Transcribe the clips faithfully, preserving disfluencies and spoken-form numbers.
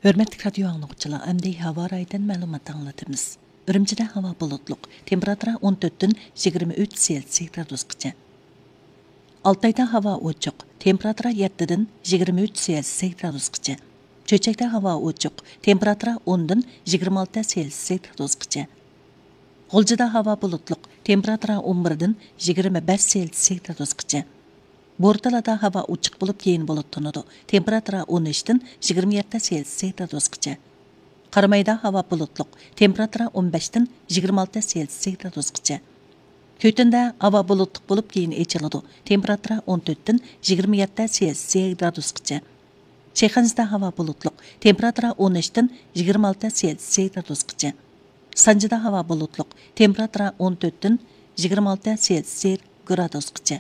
ھۆرمەتلىك رادىيو ئاڭلىغۇچىلار، ئەمدى ھاۋا رايىدىن مەلۇمات ئاڭلىتىمىز. ئۈرۈمچىدە ھاۋا بۇلۇتلۇق، تېمپېراتۇرا ئون تۆتتىن يىگىرمە ئۈچ سېلسىيە گرادۇسقىچە. ئالتايدا ھاۋا ئوچۇق، تېمپېراتۇرا يەتتىدىن يىگىرمە ئۈچ سېلسىيە گرادۇسقىچە. چۆچەكتە ھاۋا ئوچۇق، تېمپېراتۇرا ئوندىن يىگىرمە ئالتە سېلسىيە گرادۇسقىچە. غۇلجىدا ھاۋا بۇلۇتلۇق، تېمپېراتۇرا ئون بىردىن يىگىرمە بەش سېلسىيە گرادۇسقىچە. بورتالادا ھاۋا ئوچۇق بولۇپ، كېيىن بۇلۇتلىنىدۇ. تېمپېراتۇرا ئون ئۈچتىن يىگىرمە يەتتە سېلسىيە گرادۇسقىچە. قارامايدا ھاۋا بۇلۇتلۇق، تېمپېراتۇرا ئون بەشتىن يىگىرمە ئالتە سېلسىيە گرادۇسقىچە. كۆتۈندە ھاۋا بۇلۇتلۇق بولۇپ، كېيىن ئېچىلىدۇ. تېمپېراتۇرا ئون تۆتتىن يىگىرمە يەتتە سېلسىيە گرادۇسقىچە. شىخەنزىدە ھاۋا بۇلۇتلۇق، تېمپېراتۇرا ئون ئۈچتىن يىگىرمە ئالتە سېلسىيە گرادۇسقىچە. سانجىدا ھاۋا بۇلۇتلۇق، تېمپېراتۇرا ئون تۆتتىن يىگىرمە ئالتە سېلسىيە گرادۇسقىچە.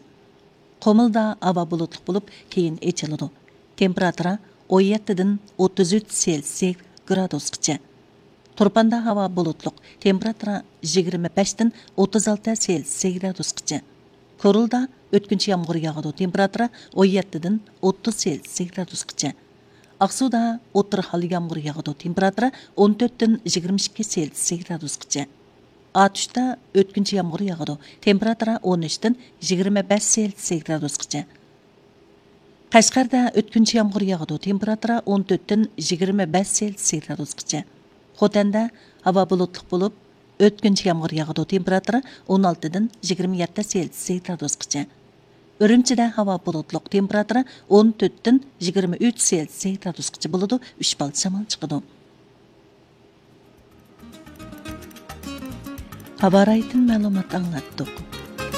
قۇمۇلدا ھاۋا بۇلۇتلۇق بولۇپ، كېيىن ئېچىلىدۇ. تېمپېراتۇرا ئون يەتتىدىن ئوتتۇز ئۈچ سېلسىيە گرادۇسقىچە. تۇرپاندا ھاۋا بۇلۇتلۇق، تېمپېراتۇرا يىگىرمە بەشتىن ئوتتۇز ئالتە سېلسىيە گرادۇسقىچە. كورلىدا ئۆتكۈنچى يامغۇر ياغىدۇ، تېمپېراتۇرا ئون يەتتىدىن ئوتتۇز سېلسىيە گرادۇسقىچە. ئاقسۇدا ئوتتۇرا خىل يامغۇر ياغىدۇ، تېمپېراتۇرا ئون تۆتتىن يىگىرمە ئىككى سېلسىيە گرادۇسقىچە. ئاتۇشتا ئۆتكۈنچى يامغۇر ياغىدۇ، تېمپېراتۇرا ئون ئۈچتىن يىگىرمە بەش سېلسىيە گرادۇسقىچە. قەشقەردە ئۆتكۈنچى يامغۇر ياغىدۇ، تېمپېراتۇرا ئون تۆتتىن يىگىرمە بەش سېلسىيە گرادۇسقىچە. خوتەندە ھاۋا بۇلۇتلۇق بولۇپ، ئۆتكۈنچى يامغۇر ياغىدۇ، تېمپېراتۇرا ئون ئالتىدىن يىگىرمە يەتتە سېلسىيە گرادۇسقىچە. ئۈرۈمچىدە ھاۋا بۇلۇتلۇق، تېمپېراتۇرا ئون تۆتتىن يىگىرمە ئۈچ سېلسىيە گرادۇسقىچە بولىدۇ، ئۈچ بال شامال چىقىدۇ. ھاۋا رايىدىن مەلۇمات ئاڭلاتتۇق.